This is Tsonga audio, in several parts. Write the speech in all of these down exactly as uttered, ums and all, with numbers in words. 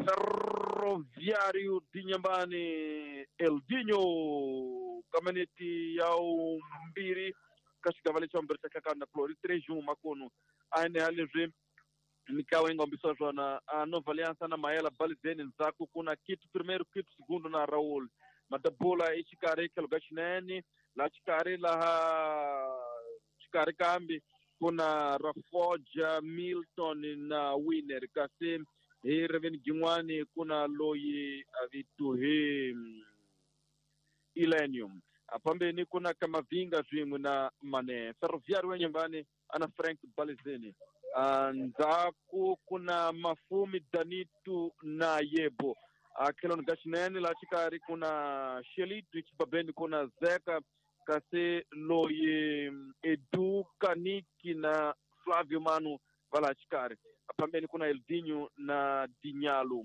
Ferroviário de Inhambane, Eldinho, caminhonete ao Mbiri, Cascavale Chambere Chakana Clori, três um Macono, A N L G, Mikael Engombiso Jona, a Nova Aliança na Maela, Balizene, Nzaku, Kuna, Quito primeiro, Quito segundo na Raul, Madabula, Ichikare, Kelogachinene, lá Chikare, lá Chikare Kambi, kuna Rafoja, Milton na Winner, Kassim, hi reveni jin'wani kuna loyi a vito hi Elenium apambeni kuna Kamavinga swin'we na Mane Ferroviário wa Inhambane ana Frank Balizeni ndzhaku kuna Mafumi Danito na Yebo akheloni ka xinene laha xikarhi kuna Xelitu xibabeni kuna Zeka kasi loyi Edu Kaniki na Flavio Manu va laha xikarhi pambeni kuna Eldinho na Dinhalo.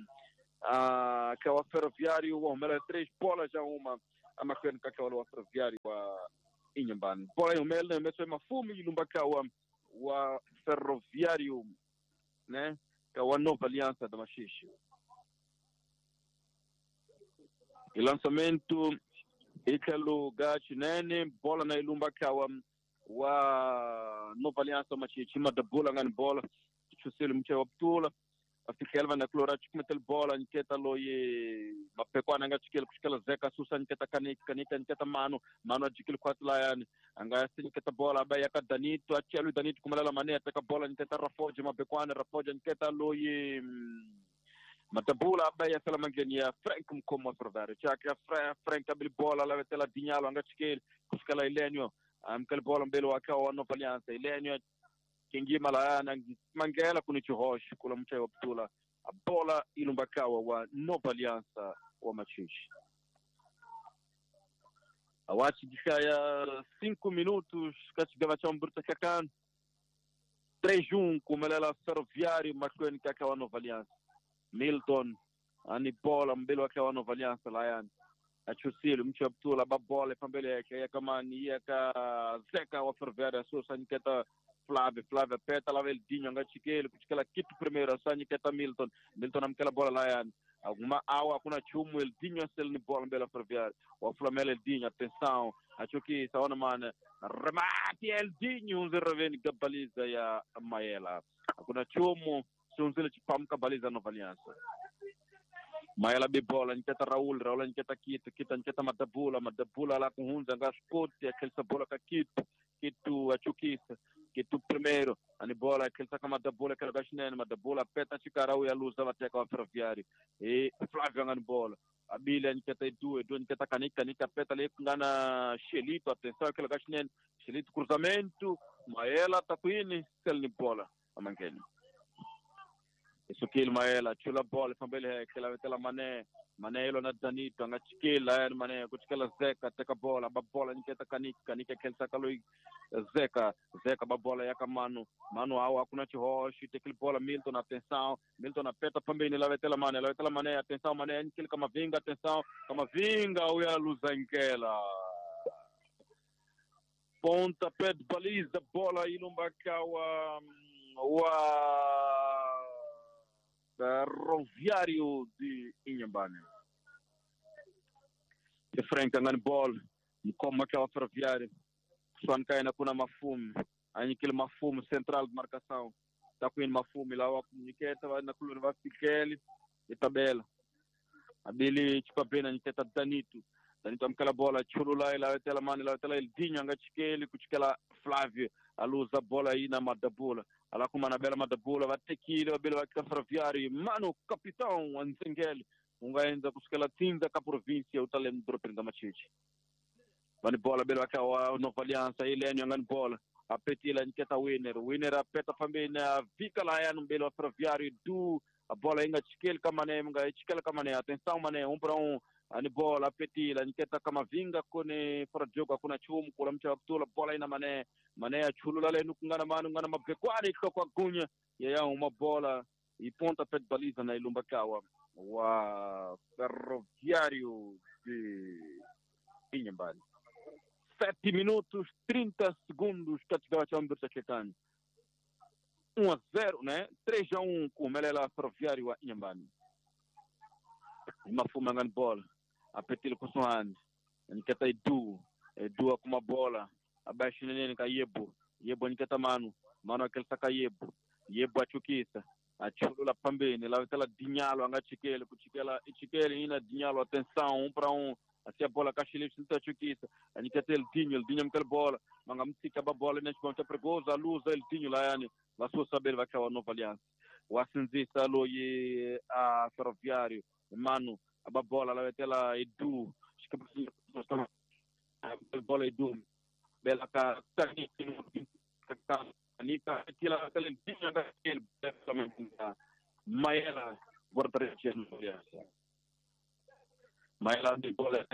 Ah, que é o Ferroviário wa humela três bolas já uma amakwenu kaka wale wa Ferroviário wa Inhambane. Bola ya humela imeswa Mafumi ilumba wa wa Ferroviário, né? Que é a Nova Aliança da Machixe. E lançamento Italo Gachinene, bola na ilumba kawa wa Nova Aliança Machixe, madabula ngani bola chusele mche wa ptula afikelva na klora chikumetel bola nketa loye mapekwana nga chikele kushikela Zeka susa nketa kanika kanika nketa mano mano ajikile kwatla yani anga nketa bola abaya ka Danito achelu Danito kumalala mane ataka bola nketa Rafoja mapekwana Rafoja nketa loye Matabula abaya salamangenia Frank Mkomo Ferroviário chaka Frank abili bola la vetela Dinhalo anga chikele kushikela Elenio amkele bola mbele wakao Nova Aliança Elenio Kingima la na mangela kuni chihosh kula mchai wa ptula a bola ilumbakawa wa Nova Aliança wa Machixe. Awachi dikaya cinco minutos kachigava cha mburta kakan três um kumelela Ferroviário makwenu kaka wa Nova Aliança. Milton ani bola mbele wake wa Nova Aliança la achusile mchai wa ptula ba bola pambele yake kama ni yaka Zeka wa Ferroviário susa niketa Flávio, Flávio peta lá Eldinho, anga chikele, kuchikela Quito primeiro, só niketa Milton, Milton amkela bola lá yani. Alguma awa kuna chumu Eldinho sel ni bola mbele Ferroviário. O Flamengo Eldinho, atenção, acho que saona mano, remate Eldinho, um zero vem baliza ya Maela. Kuna chumu, sunzile chipamka baliza Nova Aliança. Maela be bola niketa Raul, Raul niketa Quito, Quito niketa Madabula, Madabula lá com Hunza, anga spot, aquele bola ka Quito, Quito achukisa. Quito primeiro, ani bola, aquele saca Madabula, aquele gashinene, Madabula, peta chicarau e a luz da bateca ao Ferroviário. E Flávio angani bola. A Bilha niketa Edu, Edu niketa Kanika, Kanika peta ali ngana Xelito, atenção, aquele gashinene, Xelito cruzamento, Maela takuini, selni bola, amangeni. Isso que Maela, chula bola, fambele, aquela vetela Mané, Mané elo na Danito, anga chikela, Mané, kuchikela Zeka, teka bola, ba bola niketa Kanika, Kanika aquele saca lui Zeca, Zeca babola yaka Mano, Mano awa kuna chihoshi, tekil bola Milton, atenção, Milton apeta pambeni la vetela Mané, la vetela Mané, atenção Mané, nkele Kamavinga, atenção, Kamavinga uya luzankela. Ponta pé de baliza, bola ilumba kawa wa Ferroviário de Inhambane. De Frank angani bola, mkoma kawa Ferroviário. Swankaina kuna Mafume, anyikile Mafume central de marcação. Tá com Mafume lá wa niketa na kuluna va fikeli e tabela. Abili chipapena niketa Danito. Danito amkala bola chulula ila tela mani la tela Eldinho anga chikeli kuchikela Flávio aluza bola aí na Madabula. Ala kuma na bela Madabula vatekile babela va Ferroviário mano capitão Anzengeli ungaenza kuchikela tinda ka província utalem dropin da Machixe. Vani bola bela wa Nova Aliança, Elenio angani bola. Apetila niketa Winner, Winner apeta pambeni vika la ya mbele wa Ferroviário du a bola inga chikele kamane mga chikele kamane, atenção mané, um para um. Ani bola apetila niketa Kamavinga kone fora jogo akuna chumu kula mcha ptula bola ina mané, mané achulula le nukungana manu ngana mabekwani kwa gunya ya uma bola e ponta pé de baliza na ilumba kawa wa Ferroviário de Inhambane. sete minutos, trinta segundos, um a zero, né? três a um com o Melela Ferroviário a Inhambane. Mafuma ngani bola apetile kusuhani niketa Edu Edu akuma bola abaixo nene ka Yebo Yebo niketa Manu Manu akelisa ka Yebo Yebo achukisa achulula pambeni la vitela Dinhalo anga chikele kuchikela ichikele ina Dinhalo atenção um para um assim a bola Cachilipse achukisa aniketa Eldinho Eldinho amkela bola manga mtsika ba bola neste ponto é perigoso a luz Eldinho lá yani la sua saber vai cair a Nova Aliança wasinzisa loyi a Ferroviário Manu a bola la vitela Edu a bola Edu bela ka Nika tila Maela guarda-redes Maela de bola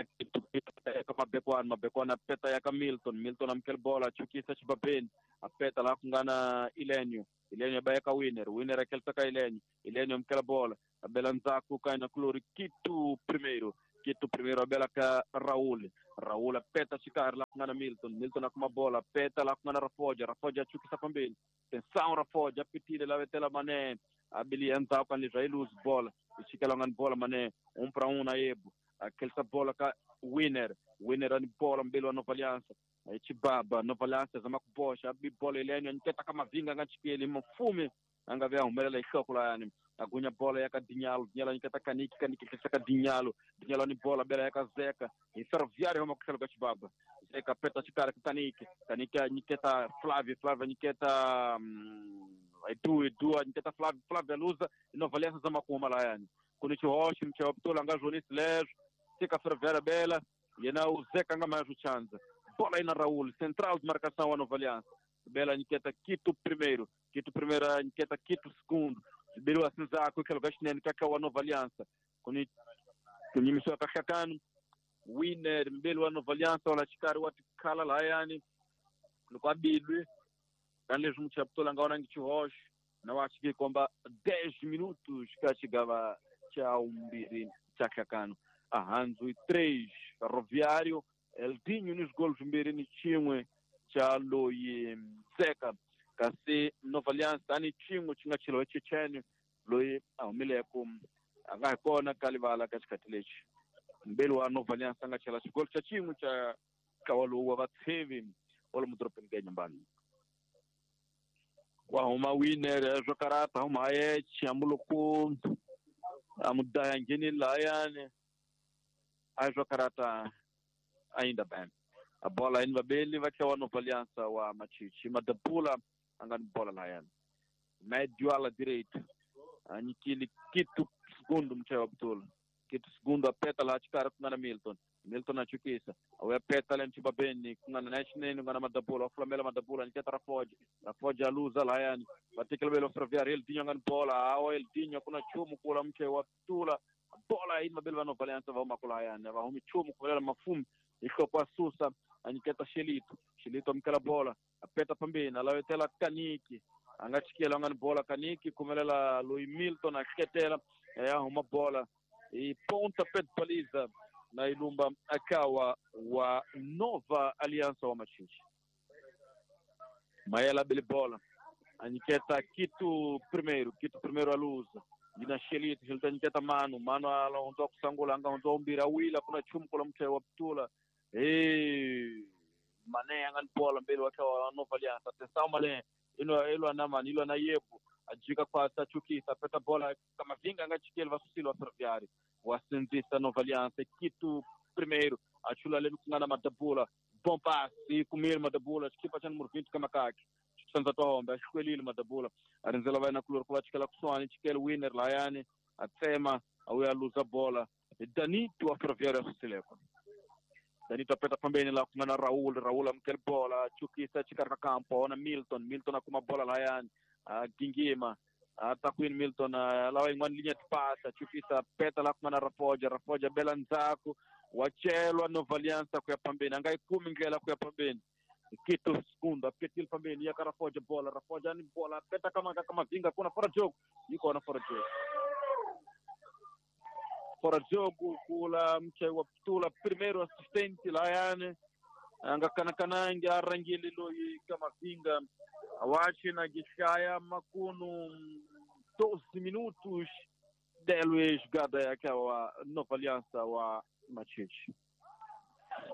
Mabekwana Mabekwana peta ya Milton Milton amkel bola chukisa chibabeni apeta la kungana Ilenio Ilenio bayaka winner winner akelta ka Ilenio Ilenio amkel bola abela nzaku kaina klori Kitu primeiro Kitu primeiro abela ka Raul Raul apeta chikar la kungana Milton Milton akuma bola peta la kungana Rafoja Rafoja chukisa pambeni tensão Rafoja apetile la vetela Mané abili enza kan Israel bola ichikela ngan bola Mané um para um na Ebo aquela bola ka winner winner ani bola mbele wa Nova Aliança aí Chibaba Nova Aliança zama kubosha abi bola Elenio nketa kama vinga ngachikele mfume anga vya umelela ihloko la yani agunya bola ya Dinhalo Dinhalo nketa Kaniki Kaniki kisaka Dinhalo Dinhalo ni bola bela ya Zeka e Ferroviário roma kusela ka Chibaba Zeka peta chikara Kaniki Kaniki nketa Flávio Flávio nketa Edu Edu nketa Flávio Flávio luza Nova Aliança zama kuma la yani kuni chihoshi mchawaptola nga Jonis Lejo Sika Ferroviária bela yena o Zeka nga mais o chanza bola aí na Raul central de marcação a Nova Aliança bela nketa Quito primeiro Quito primeiro nketa Quito segundo Biru asinza ku kelo gashnene kaka wa Nova Aliança kuni kuni miswa kakakano winner mbele wa Nova Aliança wala chikari wati kala la yani lokwabilwe kanle jumchaptola nga ona ngichihosh na wachiki komba dez minutos kachigava cha umbiri chakakano ahanzu três Ferroviário Eldinho nos golos mbiri ni chimwe cha loyi Zeka kasi Nova Aliança ani chimwe chinga chilo chechene loyi ahumileko anga kona kalivala katikati lechi mbele wa Nova Aliança anga chela chigolo cha chimwe cha kawalo wa vatsevi wala mudropeni ka nyumbani wa huma winner zvokarata huma ye chiambuluku amudaya ngeni layane azvokarata ainda bem a bola ainda bem vai ter a Nova Aliança wa Machichi madapula angani bola layane médio ala direito anikili Quito segundo mchewa Abdul Quito segundo apeta lá chikara kungana Milton Milton achukisa awe apeta le mchibabeni kungana nashneni kungana madapula oflamela madapula niketa Rafoja Rafoja luza layani batikela belo Ferroviário Eldinho angani bola awo Eldinho kuna chumu kula mchewa Abdul bola ina belo Nova Aliança va makula yani va humi chumu kula mafumu iko kwa susa aniketa Shelito Shelito amkela bola apeta pambeni alawetela Kaniki angachikela ngani bola Kaniki kumelela Lui Milton aketela ya huma bola e ponta pé de baliza na ilumba akawa wa Nova Aliança wa Machichi Maela bele bola aniketa Quito primeiro Quito primeiro a luza dina Shelito Shelito aniketa Manu Manu ala ondoa kusangula anga ondoa umbira wila kuna chumu kula mche wa Ptula eh Mané angani bola mbele wakawa Nova Aliança atenção Mané ilo ilo na mani ilo na Yebo ajika kwa tachukisa peta bola kama vinga angachikele vasusilo wa Ferroviário wasenzisa Nova Aliança Quito primeiro achula lemi kungana madabula bom passe kumile madabula chikipa cha número vinte kamakaki sanza tohombe ashikwelile madabula arinzela vai na kulor kwa chikela kuswani chikele winner layani atsema awe aluza bola Danito wa Ferroviário asusileko Danito apeta pambeni la kungana Raul Raul amkele bola chukisa chikarka kampo ona Milton Milton akuma bola layani gingima atakwin Milton lawa ingwani linha de passa chukisa peta la kungana Rafoja Rafoja bela nzaku wachelwa Nova Aliança kuya pambeni angai kumi ngela kuya pambeni Quito segundo apetil pambeni yaka Rafoja bola Rafoja ni bola peta kama kama vinga kuna fora jogo iko na fora jogo fora jogo kula mche wa ptula primeiro assistente layane anga kana kanange arangili loyi kama vinga awachi na gishaya makunu doze minutos Delwe jogada ya wa Nova Aliança wa Machixe.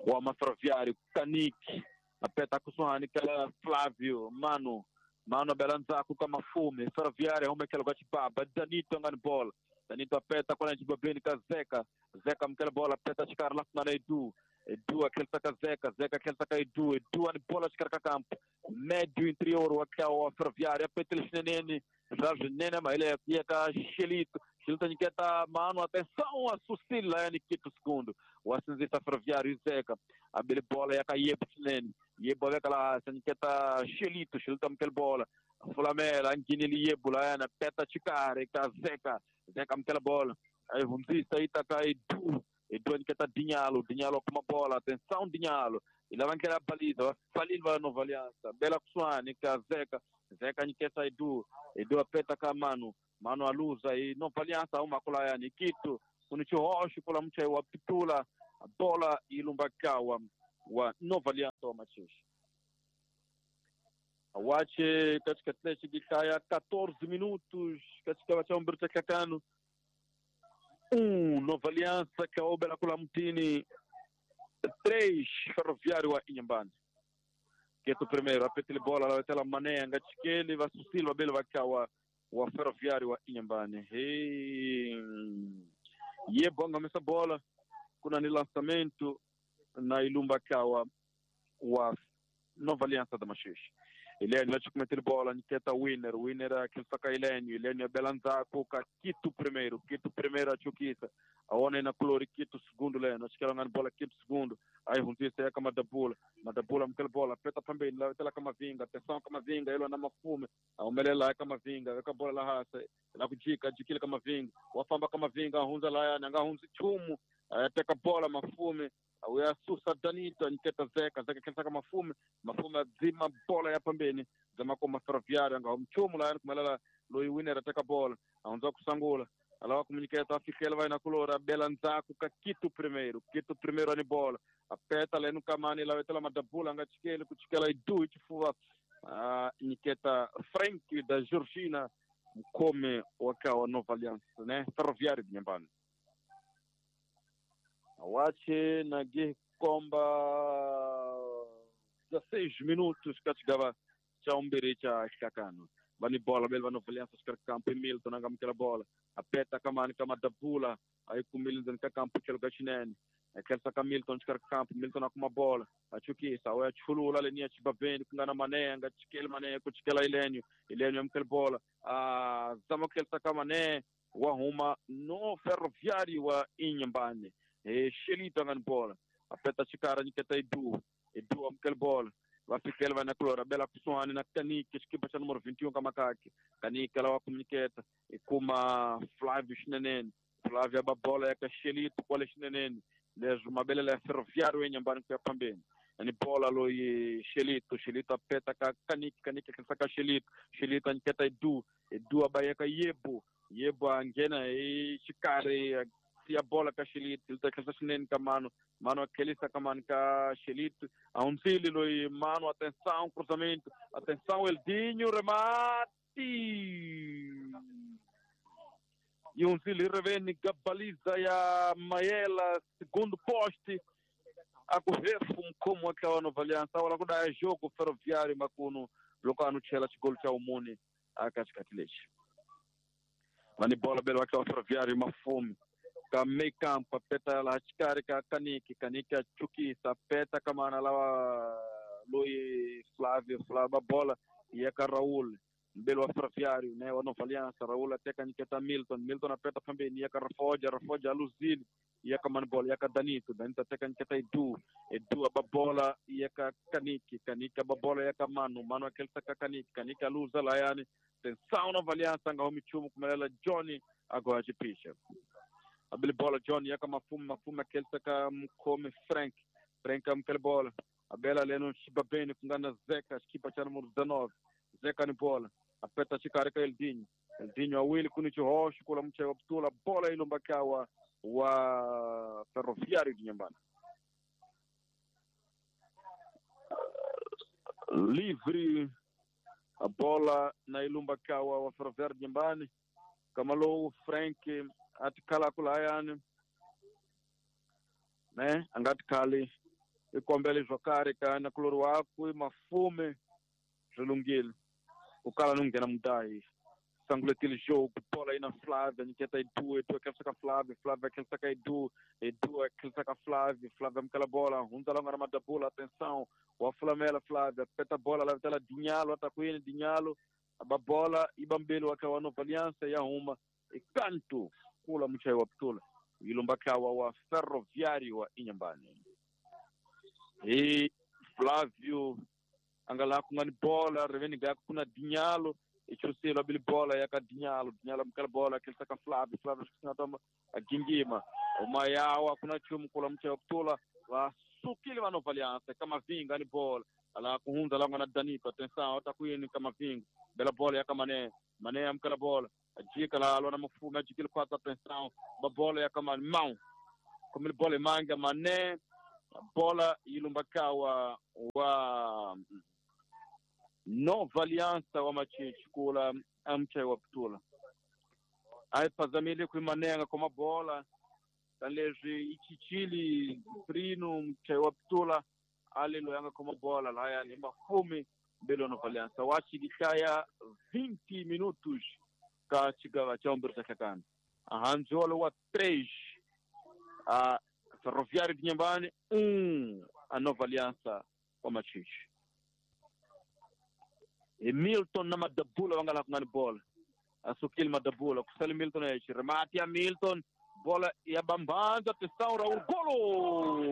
Wa Ferroviário, Kaniki, apeta kusuhani kala Flávio, Mano, Mano belanzaku kama fume, Ferroviário hume kela kwa chibaba, Danito ngani bola. Danito apeta kwa chibabeni ka Zeka, Zeka mkela bola apeta chikara lafu na Edu. Edu aquele saca Zeca, Zeca aquele saca Edu, Edu ani bola chikara campo. Médio interior wa Ferroviário, apeta ele chinenene, Jorge Nene, mas ele é ka Xelito. Xelito Niketa Mano, atenção a Sucila, Nikito segundo. O ascensista Ferroviário Zeca, a bele bola é a Yebo Chinene. Yebo é aquela Niketa Xelito, Xelito mkel bola. Flamela, Anguinili Yebo lá na peta chikare ka Zeca, Zeca mkel bola. Aí vamos aí tá ka Edu, Edu Niketa Dinhalo, Dinhalo com uma bola, atenção Dinhalo. E lá vai querer a baliza, vai vai Nova Aliança. Bela Kusuane ka Zeca, Zeca Niketa Edu, Edu apeta ka Mano. Mano a luz aí, Nova Aliança, uma cola Nikito, kunicho roxo, cola mucha wa pitula, a bola e lumbakawa wa Nova Aliança wa Machixe. Awache katika Atlético Kaya quatorze minutos, katika wacha umberta kakano. Um, Nova Aliança kaobela kula mtini. Três, Ferroviário wa Inhambane. Keto primeiro, apetele bola, lá tela mané, ngachikele, va Susilva bele vakawa wa Ferroviário wa Inhambane. Hey. Yebo ngamesa bola kuna ni lançamento na Ilumba kawa wa Nova Aliança da Machixe. Elênio vai cometer bola, Niketa Winner, Winner aquele saca Elênio, Elênio Belanzaco, Quito primeiro, Quito primeiro a Chuquita, a Ona na Clori, Quito segundo, Leno, acho que ela bola Quito segundo, aí Runtista é a Madabula, Madabula mkel bola, peta também, lá tela Camavinga, atenção Camavinga, ele na mafume, a Umelela é Camavinga, a bola lá raça, lá com Dica, Diquila Camavinga, o Afamba Camavinga, Hunza lá, Nanga Hunzi Chumo, pega bola mafume, a Sussa Danito, Niketa Zeca, Zeca quem saca mafume, mafume azima bola ya pambeni, zama koma Ferroviário, anga mchumo lá, como ela Loi Winner ateka bola, aonza kusangula, ela comunicata fica vai na colora, Belanzaco, Quito primeiro, Quito primeiro ani bola, apeta lá no Kamani, lá tela madabula, anga chikele, kuchikela idu chifuva, Niketa Frank da Georgina, mkome wakawa Nova Aliança, né? Ferroviário de Inhambane. Awache na Komba dezesseis minutos katigava cha umbiri cha kakano. Bani bola bel Nova Aliança skar campo Milton anga mkela bola. Apeta kamani kama dabula aí com Milton ka campo chelo gachinene. Aquele saca Milton skar campo Milton akuma bola. Achukisa oya chulula lenia chibabeni kungana mané anga chikele mané kuchikela Elênio. Elênio mkela bola. Ah zama kel saka mané wahuma no Ferroviário wa Inhambane. E Xelito ngani bola apeta chikara Niketa Edu, Edu amkel bola vai ficar vai na clora bela kusuani na Kaniki equipa cha número vinte e um kamakaki Kaniki ela wa comuniceta e kuma Flávio Chinenene Flávio aba bola ya Xelito kola Chinenene les mabele la Ferroviário Inhambane kwa pambeni ani bola lo e Xelito Xelito apeta ka Kaniki Kaniki ka Xelito Xelito Niketa Edu Edu abayeka Yebo Yebo angena e chikare a bola ka Xelito, ele tá crescendo ka mano, mano aquele está mano ka Xelito, a um zilo e mano, atenção, cruzamento, atenção, Eldinho, remate! E um zilo revene, baliza e a Maela, segundo poste, a correr como aquela Nova Aliança, agora quando é jogo Ferroviário, macuno, local no Tchela, gol tchau Muni, a Cascatilete. Mani bola belo aquela Ferroviário, uma fome. Ka meio campo, apeta lá, chikari ka Kaniki, Kaniki a Chukisa, apeta kamana lá, Luiz Flávio, Flávio, a bola, e é ka Raul, belo Ferroviário, né, o Nova Aliança, Raul até Kaniketa Milton, Milton apeta também, e é ka Rafoja, Rafoja, Luzili, e é ka Mano bola, e é ka Danito, Danito até Kaniketa Edu, Edu a bola, e é ka Kaniki, Kaniki a bola, e é ka Mano, Mano aquele saca Kaniki, Kaniki a Luza, Laiane, tensão Nova Aliança, anga homichumo, como ela, Johnny, agora de picha. Abele bola Johnny yaka mafume mafume aquele saka mkome Frank Frank amkele bola abela leno chibabeni kungana Zeca equipa cha número dezenove Zeca ni bola apeta chikare ka Eldinho Eldinho awili kuni chihosh kula mche optula bola ilumbakawa wa Ferroviário de Inhambane. Livre a bola na ilumbakawa wa Ferroviário de Inhambane. Nkama lowu Frank a tikhalaka lahayani ne a nga tikhali i kombele swo karhi ka nakulori wakwe Mafume swi lunghile ku kala no nghena mudahi sanguletile jogo bola ina Flávia nyiketa Edu Edu akhensa ka Flávia Flávia akhensa ka Edu Edu akhensa ka Flávia Flávia amukela bola hundza la nga na madabula atenção wa fulamela Flávia peta bola la vitela Dinhalo atakwini Dinhalo aba bola ibambeli wakhe wa Nova Aliança ya huma ikanto kula muchayi wa putula yilumba kawa wa Ferroviário wa Inhambane hi Flávio anga laha ku nga ni bola riveni ga ku na Dinhalo ichusilo abili bola ya ka Dinhalo Dinhalo amukela bola akhelisa ka Flávio Flávio xisinatoma agingima umayawa kuna chumu kula muchayi wa putula vasukile va Nova Aliança Kamavinga ni bola ala kuhundza la nga na Danito atenção atakwini Kamavinga bela bola ya ka Mané Mané amukela bola ajika la alwa na Mafume ajikile kwata atenção ba bola ya ka Mão komile bola imanga Mané bola ilumba kawa wa Nova Aliança wa Machichi kula amchai wa putula aipazamile kuimanenga koma bola tanleswi ichichili prino mchai wa putula aliloyanga koma bola lahayani Mafume mbele wa Nova Aliança wachikihlaya vinte minutos ka chigava cha umbiri cha hlakana ahanziwalo wa três a Ferroviário de Inhambane um a Nova Aliança wa Machichi e Milton na madabula vanga laha ku nga ni bola asukile madabula kusale Milton yexe remati ya Milton bola ya bambanza atenção Raul golo.